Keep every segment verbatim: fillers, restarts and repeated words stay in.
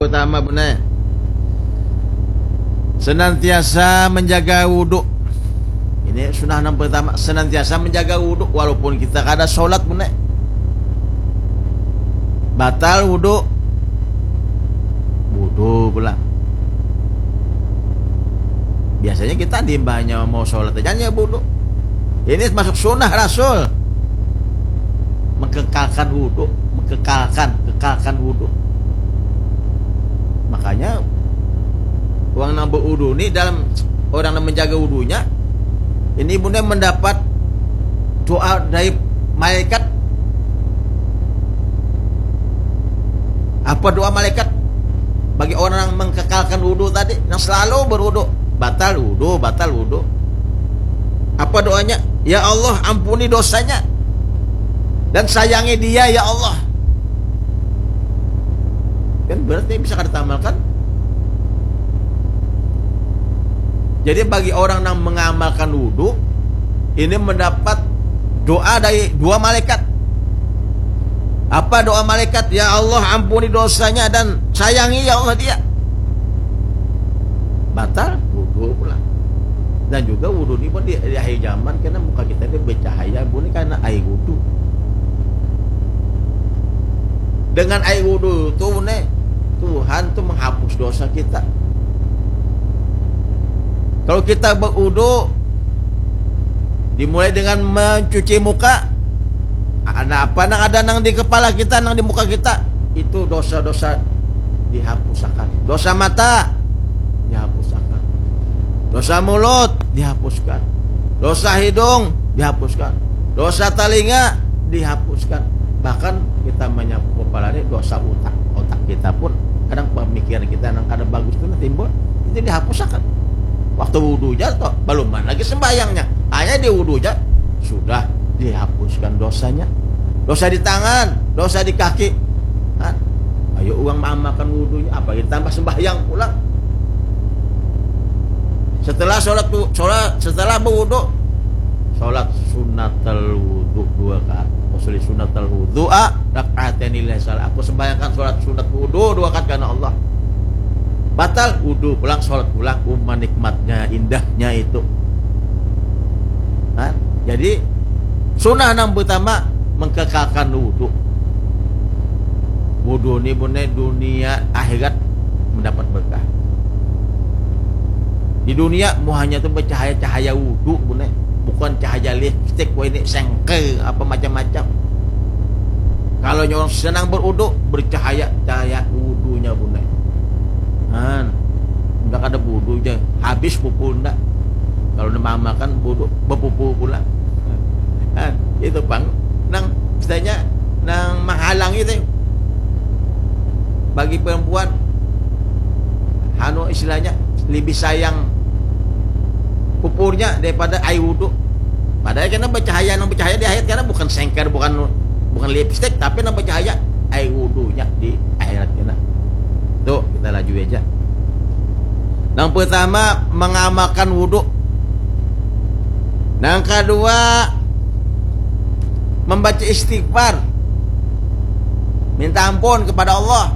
Pertama, Bunda, senantiasa menjaga wudhu. Ini sunnah yang pertama, senantiasa menjaga wudhu walaupun kita kada sholat, Bunda. Batal wudhu, wudhu pulang. Biasanya kita di imbahnya mau sholat aja hanya wudhu. Ini termasuk sunnah Rasul, mengkekalkan wudhu, mengkekalkan, kekalkan wudhu. Makanya orang yang berwudhu ni, dalam orang yang menjaga wudhunya ini, Bunda, mendapat doa dari malaikat. Apa doa malaikat bagi orang yang mengkekalkan wudhu tadi, yang selalu berwudhu? Batal wudhu, batal wudhu. Apa doanya? "Ya Allah, ampuni dosanya dan sayangi dia, ya Allah." Kan berarti bisa kada tamalkan. Jadi bagi orang yang mengamalkan wudhu, ini mendapat doa dari dua malaikat. Apa doa malaikat? "Ya Allah, ampuni dosanya dan sayangi, ya Allah, dia." Batal wudhu pulang. Dan juga wudhu ni pun di, di akhir zaman, karena muka kita ni bercahaya, Bunda, karena air wudhu. Dengan air wudhu tu, Bunda, Tuhan tu menghapus dosa kita. Kalau kita berwudhu, dimulai dengan mencuci muka, ada apa nang ada nang di kepala kita, nang di muka kita, itu dosa-dosa dihapusakan. Dosa mata dihapusakan. Dosa mulut dihapuskan. Dosa hidung dihapuskan. Dosa talinga dihapuskan. Bahkan kita menyapu kepala ni, dosa utak. Otak kita pun kadang pemikiran kita nang kada bagus tu nah timbul. Itu dihapusakan. Waktu wudhu ja toh, belum lagi sembahyangnya. Hanya di wudhu ja sudah dihapuskan dosanya. Dosa di tangan, dosa di kaki. Kan? Ayo uang maamakan wudhunya, apa ditambah sembahyang pulang. Setelah sholat, sholat, setelah berwudhu, sholat sunnatul wudhu dua rakaat. Usolli sunnatul wudhu a rakaat ini salah. Aku sembahyangkan sholat sunat wudhu dua rakaat karena Allah. Batal wudhu pulang, sholat pulang. Uma nikmatnya, indahnya itu. Nah, jadi sunnah nang pertama, mengkekalkan wudhu. Wudhu ni, Bunda, dunia akhirat mendapat berkah. Di dunia muhanya tu bercahaya-cahaya wudhu, Bunda, bukan cahaya lipstick, wah ini sengker, apa macam-macam. Kalau orang senang berwudhu, bercahaya cahaya wudhunya, Bunda. Nah, ndak ada wudhu ja, habis pupul ndak. Kalau nang maamakan wudhu, berpupul pulang. Nah, itu pang nang istilahnya nang menghalangi tu. Bagi perempuan, anu, istilahnya lebih sayang pupurnya daripada air wudhu. Padahal kena bercahaya, nang bercahaya di akhirat kena bukan sengker, bukan, bukan lipstick, tapi nang bercahaya air wudhunya di akhirat kena. Tuh, kita laju aja. Nang pertama, mengamalkan wudhu. Nang kedua, membaca istighfar. Minta ampun kepada Allah.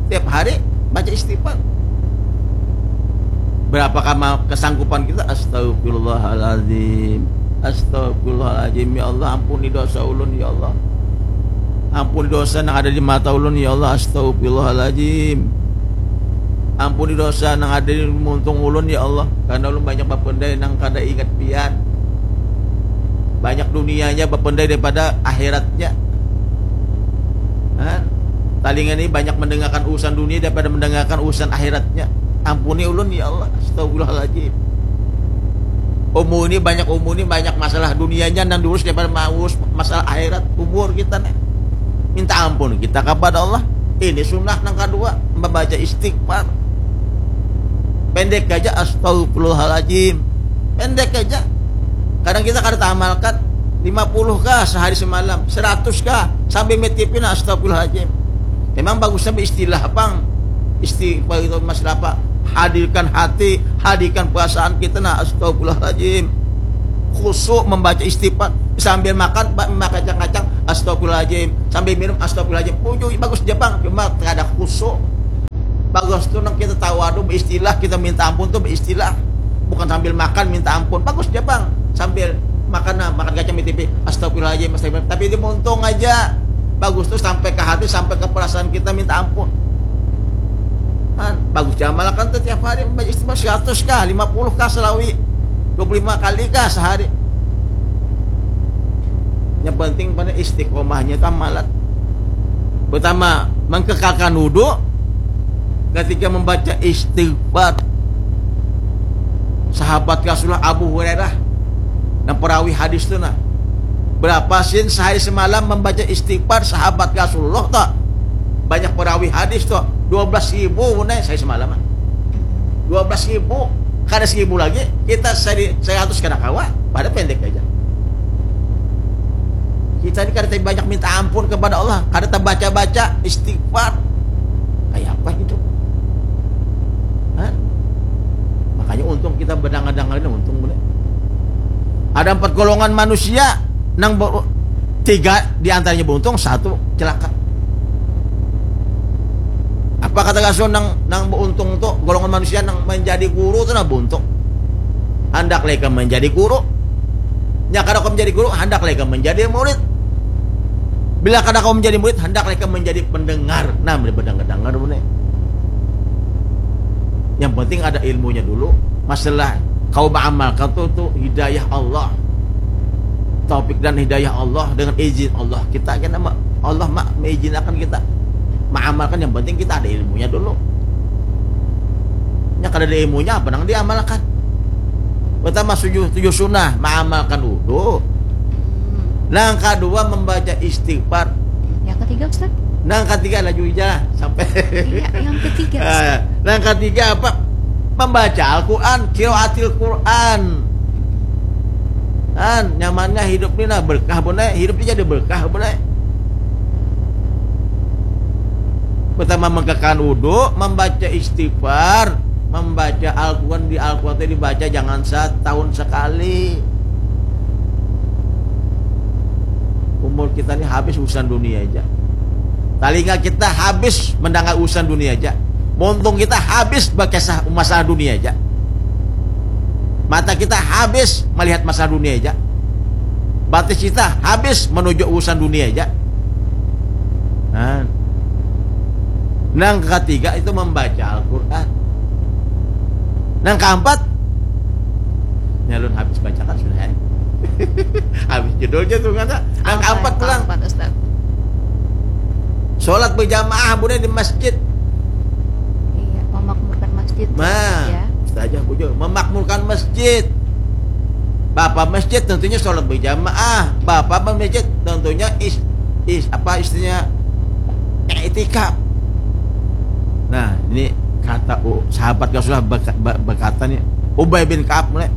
Tiap hari baca istighfar. Berapa kama kesanggupan kita? Astagfirullahaladzim. Astagfirullahaladzim. Ya Allah, ampuni dosa ulun, ya Allah. Ampuni dosa nang ada di mata ulun, ya Allah. Astagfirullahaladzim. Ampuni dosa nang ada di muntung ulun, ya Allah. Karena ulun banyak bapendai nang kada ingat pian. Banyak dunianya bapendai daripada akhiratnya. Nah, talinga ni banyak mendengarkan urusan dunia daripada mendengarkan urusan akhiratnya. Ampuni ulun, ya Allah. Astagfirullahaladzim. Umur ini banyak, umur ini banyak masalah dunianya nang diurus daripada maurus masalah akhirat. Umur kita nih, minta ampun kita kepada Allah. Ini sunnah nang kedua, membaca istighfar. Pendek aja, astagfirullahaladzim. Pendek aja. Kadang kita kada tamalkan, lima puluh kah sehari semalam, seratus kah, sambil mitipin, astagfirullahaladzim. Memang bagusnya beristilah pang. Istighfar itu masalah apa? Hadirkan hati, hadirkan perasaan kita, nah, astagfirullahaladzim. Khusyuk membaca istighfar, sambil makan, ba-, makacang-kacang, astagfirullahaladzim. Sambil minum, astagfirullahaladzim. Ujung bagus ja pang, cuma kada khusyuk. Bagus tu nang kita tahu adu beristilah, kita minta ampun tu beristilah. Bukan sambil makan minta ampun. Bagus ja pang. Sambil makan nah, makan kacang di T V. Astagfirullahaladzim, astagfirullah. Tapi dia untung aja. Bagus tu sampai ke hati, sampai ke perasaan kita minta ampun. Kan bagus ja amalkan tu tiap hari membaca istighfar seratus kah, lima puluh kah selawi. Dua puluh lima kali kah sehari. Yang penting pada istiqomahnya tu amalan. Pertama, mengkekalkan wudhu ketika membaca istighfar. Sahabat Rasulullah Abu Hurairah, nang perawi hadis tu nah. Berapa sin sehari semalam membaca istighfar sahabat Rasulullah tu? Banyak perawi hadis tu. Dua belas ribu nah sehari semalam. Dua belas ribu. Kada seribu lagi. Kita seri-, seratus kada kawa. Pada pendek aja. Kita ni kada banyak minta ampun kepada Allah, kada tabaca-baca istighfar. Kayak apa hidup? Hah? Makanya untung kita berdangar-dangar ini untung benar. Ada empat golongan manusia nang ber-, tiga di antaranya beruntung, satu celaka. Apa kata Rasul nang nang beruntung tu golongan manusia nang menjadi guru tu nah beruntung. Handak leka menjadi guru. Nya kada kau menjadi guru, handak leka menjadi murid. Bila kada kau menjadi murid, handak leka menjadi pendengar. Nah, bila berdengar-dengar ni. Yang penting ada ilmunya dulu. Masalah kau mengamalkan tu tu hidayah Allah. Taufik dan hidayah Allah dengan izin Allah. Kita kena ma-, Allah mak mengizinakan kita mengamalkan, yang penting kita ada ilmunya dulu. Nya kada ada ilmunya apa nang diamalkan? Pertama tujuh, tujuh sunnah, mengamalkan wudhu. Nang kedua membaca istighfar. Yang ketiga, Ustaz? Nang ketiga laju aja lah sampai. Iya, yang ketiga, Ustaz. Eh, nang ketiga apa? Membaca Al-Quran, qiraatil Quran. Kan nyamannya hidup ni nah berkah benar, hidup ni jadi berkah benar. Pertama mengkekalkan wudhu, membaca istighfar, membaca Al-Quran. Di Al-Quran itu dibaca jangan setahun sekali. Umur kita ni habis urusan dunia aja. Talinga kita habis mendengar urusan dunia aja. Muntung kita habis berkisah masalah dunia aja. Mata kita habis melihat masalah dunia aja. Batis kita habis menuju urusan dunia aja. Nah. Nang ketiga itu membaca Al-Quran. Nang keempat, nyalun habis bacakan sudah, eh. Habis judulnya tu kata. Nang keempat pulang. Keempat, Ustaz? Sholat berjamaah, budak, di masjid. Iya, memakmurkan masjid. Nah, ya. Ustazah bujur, memakmurkan masjid. Bapa masjid tentunya sholat berjamaah. Bapa masjid tentunya is, is apa istilahnya, iktikaf. Nah, ini kata, oh, sahabat Rasulullah berka-, ber-, berkata nih, Ubay bin Ka'ab mulai.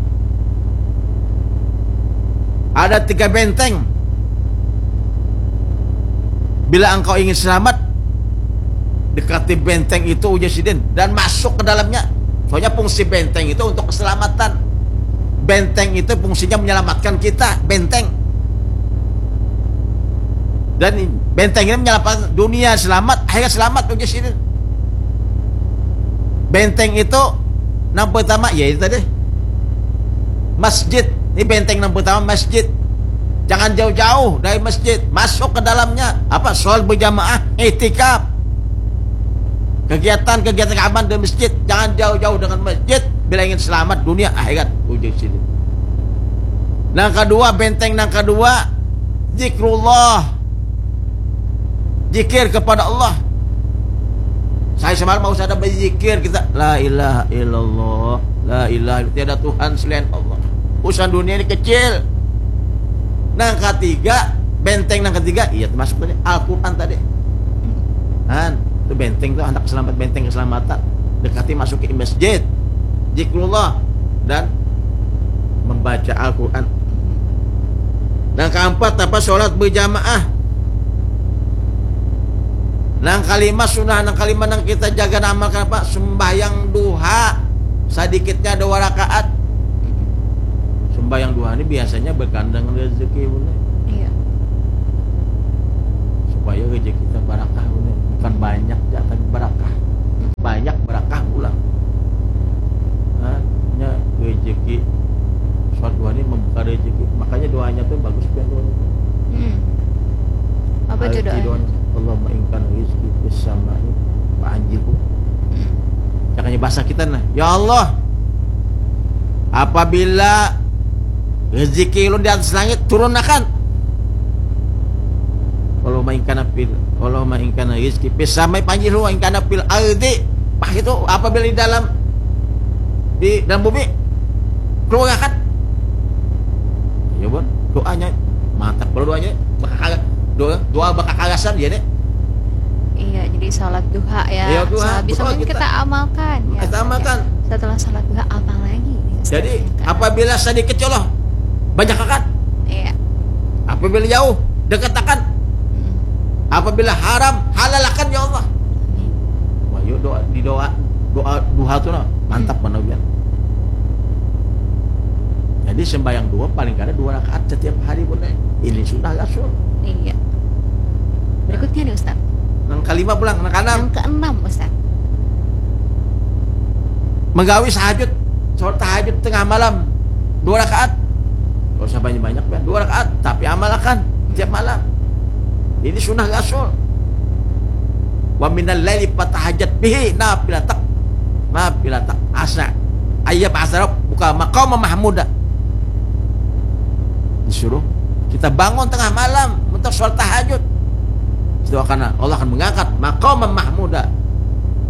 Ada tiga benteng. Bila engkau ingin selamat, dekati benteng itu, ujar sidin, dan masuk ke dalamnya. Soalnya fungsi benteng itu untuk keselamatan. Benteng itu fungsinya menyelamatkan kita, benteng. Dan benteng ini menyelamatkan dunia selamat, akhirat selamat, ujar sidin. Benteng itu nang pertama, ya itu tadi. Masjid. Ini benteng nang pertama, masjid. Jangan jauh-jauh dari masjid. Masuk ke dalamnya. Apa? Sholat berjamaah, iktikaf. Kegiatan-kegiatan keagamaan di masjid. Jangan jauh-jauh dengan masjid. Bila ingin selamat dunia akhirat, ujar sidin. Nang kedua, benteng nang kedua, zikrullah. Zikir kepada Allah. Saya semalam mau sadar berzikir kita, la ilaha illallah, la ilaha illallah, tiada Tuhan selain Allah. Urusan dunia ini kecil. Nang ketiga, benteng nang ketiga, iya termasuk tadi Al-Quran tadi. Kan, itu benteng tuh, anak selamat, benteng keselamatan. Dekati masuk ke masjid, zikrullah, dan membaca Al-Quran. Nang keempat apa? Sholat berjamaah. Nang kalima sunnah, nang kalima nang kita jaga nang amalkan apa? Sembahyang duha, sedikitnya dua rakaat. Sembahyang duha ini biasanya berkandang rezeki, bener. Iya. Supaya rezeki kita barakah, bener. Bukan banyak, ya, tapi barakah. Banyak Asa kita nah, ya Allah, apabila rezeki ulun di atas langit, turunakan. Allahumma ingkana fil, Allahumma ingkana rizki fis samai panjiru ingkana fil ardi. Pah itu apabila di dalam, di dalam bumi, keluarkan. Ya bon, doanya mantap kalau doanya bakakala, doa, doa bakakalasan ya deh. Iya, jadi salat duha ya. Iya, duha, Sehabis duha mungkin kita. Kita amalkan ya. Kita amalkan. Setelah salat duha apa lagi? Jadi apabila sedikit ya Allah, banyak akan. Iya. Apabila jauh, dekat akan. Hmm. Apabila haram, halalakan ya Allah. Amin. Wah, yuk doa, di doa, doa duha tuh nah, mantap mana biar. Jadi sembahyang duha paling kada dua rakaat setiap hari pun eh. Ini sunnah Rasul. Iya. Berikutnya nih Ustaz. Yang kelima pulang, yang keenam. Yang keenam Ustaz. Menggawi sahajud, sholat tahajud tengah malam dua rakaat. Gak usah banyak-banyak, Bang. Dua rakaat, tapi amalkan tiap malam. Ini sunnah Rasul. Wa minal laili fatahajat bihi nafilatak, nafilatak asa ayyab asarab buka maqama mahmuda. Disuruh kita bangun tengah malam untuk sholat tahajud. Itu akan, Allah akan mengangkat maqama mahmuda.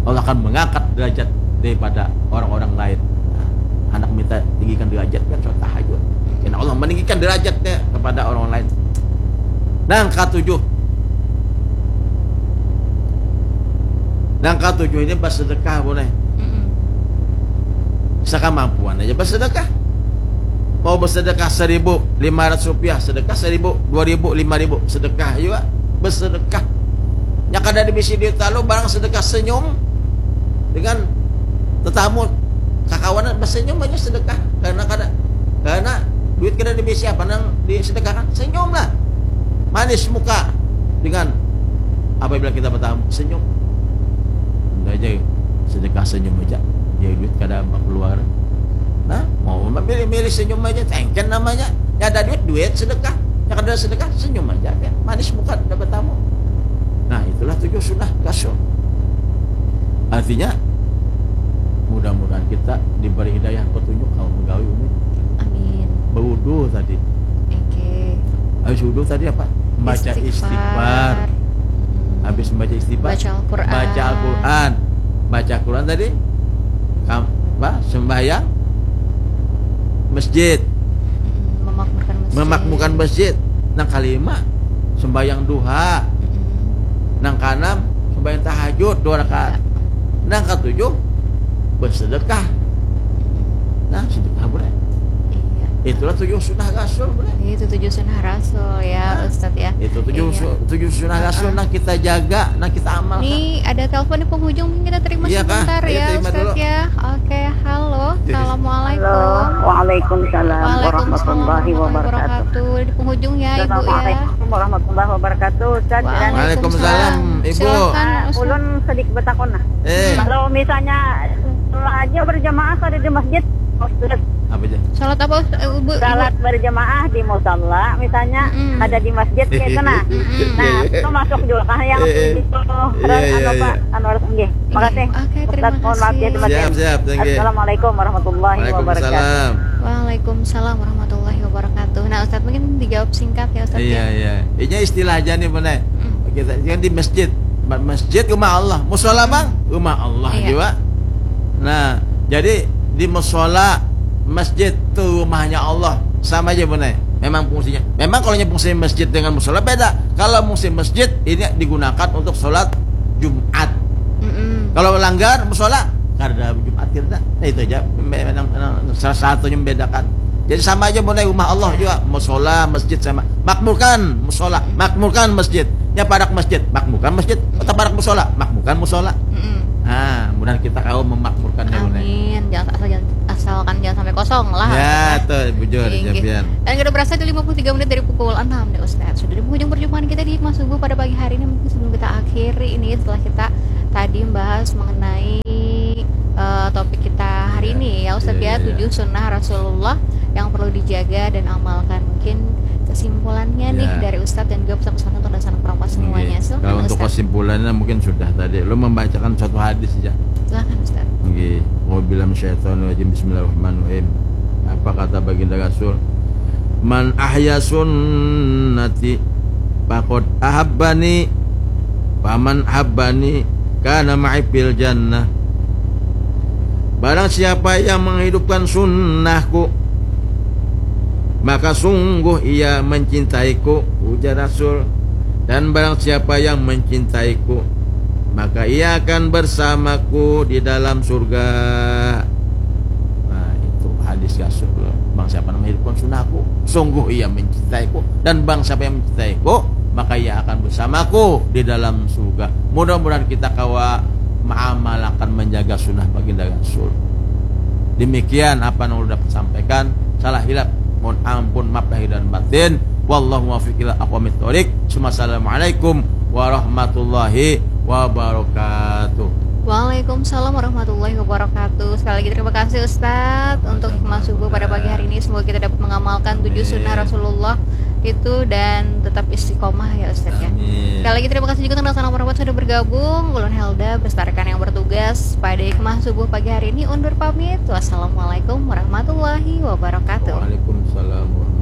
Allah akan mengangkat derajat daripada orang-orang lain. Nah, anak minta tinggikan derajat kan sholat tahajud. Karena Allah meninggikan derajatnya kepada orang lain. Nah, yang ketujuh. Nah, yang ketujuh ini bersedekah boleh. Mm-mm. Sekemampuan aja bersedekah. Mau bersedekah seribu lima ratus rupiah, sedekah seribu, dua ribu, lima ribu, sedekah juga bersedekah. Nya kada ada bisi duit lalu barang sedekah senyum dengan tetamu kakawanan bersenyum aja sedekah karena kada karena duit kada ada bisi apa nang disedekahkan senyum lah manis muka dengan apabila kita bertamu senyum. Udah aja sedekah senyum aja. Dia duit kada apa keluar. Nah, mau memilih-milih senyum aja, tengken namanya. Ya ada duit, duit sedekah. Ya kada ada sedekah, senyum aja. Ya. Manis muka dapat tamu. Nah, itulah tujuh sunnah Rasul. Artinya, mudah-mudahan kita diberi hidayah petunjuk kalau menggawi ini. Amin. Berwudu tadi. Oke. Habis wudu tadi apa? Baca istighfar. Istighfar. Mm-mm. Habis membaca istighfar, Baca Al-Quran. Baca Al-Quran. Baca Al-Quran tadi kam, apa? Sembahyang masjid. Mm-mm. Memakmurkan masjid. Memakmurkan masjid. Nang kelima sembahyang duha. Mm-mm. Nang keenam sembahyang tahajud dua rakaat. Nang ketujuh bersedekah. Nah, sedekah boleh. Iya. Itulah tujuh sunnah Rasul boleh. Itu tujuh sunnah Rasul ya, Nah, Ustadz ya. Itu tujuh Iya. su- tujuh sunnah Rasul Heeh. Nah kita jaga, nah kita amalkan. Nih ada telepon di penghujung, mungkin kita terima Iya, Kak. sebentar Iya, ya, terima Ustadz dulu. Iya. Assalamualaikum. Halo, waalaikumsalam Waalaikumsalam warahmatullahi wabarakatuh. Di penghujung ya, Ibu ya. Assalamualaikum warahmatullahi wabarakatuh, Ustaz. Dan Waalaikumsalam, Ibu. Silakan, Ah, Ustaz. Ulun sedikit betakun nah. Eh. Kalau misalnya aja berjamaah kada di masjid, Ustaz. Apa aja? Salat apa, Ustaz? Eh, Ibu, Ibu. Salat berjamaah di musala, misalnya Mm-mm. ada di masjid gitu nah. Mm-mm. Nah, itu masuk juga kah yang Eh, eh. itu Iya, iya, anu, Pak iya. Anwar? Nggih. Makasih. Oke, Ustaz, terima mohon maaf ya, kasih. terima kasih. Siap, siap, thank you. Assalamualaikum warahmatullahi wabarakatuh. Waalaikumsalam. Waalaikumsalam warahmatullahi wabarakatuh. Nah, Ustaz mungkin dijawab singkat ya, Ustaz Iya, ya. Iya. Ini istilah aja nih, Bunda. Mm. Kita kan di masjid. Ma- Masjid rumah Allah. Musola, Bang, rumah Allah Iya. juga. Nah, jadi di musola masjid tuh rumahnya Allah. Sama aja, Bunda. Memang fungsinya. Memang kalau fungsi masjid dengan musola beda. Kalau fungsi masjid ini digunakan untuk sholat Jumat. Mm-mm. Kalau langgar musola kada Jumat kita. Nah, itu aja. Memang, memang salah satunya membedakan. Jadi sama aja, Bunda, rumah Allah juga, musola, masjid sama. Makmurkan musola, makmurkan masjid. Ya parak masjid, makmurkan masjid. Kota parak musola, makmurkan musola. Mm-mm. Nah, mudah kita kau memakmurkannya, Bunda. Amin. Jangan asal jangan, asalkan jangan sampai kosong lah. Ya, tuh bujur, Inggih. Japian. Dan kita berasa di lima puluh tiga menit dari pukul enam nih Ustaz. Sudah di penghujung perjumpaan kita di Hikmah Subuh pada pagi hari ini. Mungkin sebelum kita akhiri ini, setelah kita tadi membahas mengenai eh, topik kita hari Iya, ini ya Ustaz iya, ya, iya, iya. Tujuh sunnah Rasulullah yang perlu dijaga dan amalkan. Mungkin kesimpulannya nih Iya. Dari Ustaz dan juga pesan-pesan untuk dasar perempuan semuanya. Oke. Silakan Kalau untuk Ustaz. Kesimpulannya mungkin sudah tadi. Lo membacakan satu hadis aja. Silakan Ustaz. Oke, A'udzubillahi minasyaitonirrajim. Bismillahirrahmanirrahim. Apa kata baginda Rasul? "Man ahya sunnati faqad ahabbani, faman ahabbani kana ma'i fil jannah." Barang siapa yang menghidupkan sunnahku, maka sungguh ia mencintaiku, ujar Rasul. Dan barang siapa yang mencintaiku, maka ia akan bersamaku di dalam surga. Nah, itu hadis Rasul. Barang siapa yang menghidupkan sunnahku, sungguh ia mencintaiku. Dan barang siapa yang mencintaiku, maka ia akan bersamaku di dalam surga. Mudah-mudahan kita kawa mengamalkan, menjaga sunnah baginda Rasul. Demikian apa yang ulun dapat sampaikan. Salah hilap, mohon ampun, maaf lahir dan batin. Wallahu muwaffiq ila aqwamit thoriq. Summa assalamualaikum warahmatullahi wabarakatuh. Waalaikumsalam warahmatullahi wabarakatuh. Sekali lagi terima kasih Ustadz untuk hikmah subuh pada pagi hari ini. Semoga kita dapat mengamalkan tujuh sunnah Rasulullah itu dan tetap istiqomah ya Ustadz ya. Amin. Sekali lagi terima kasih juga untuk salam hormat sudah bergabung. Ulun Helda beserta rekan yang bertugas pada hikmah subuh pagi hari ini undur pamit. Wassalamualaikum warahmatullahi wabarakatuh. Waalaikumsalam warahmatullahi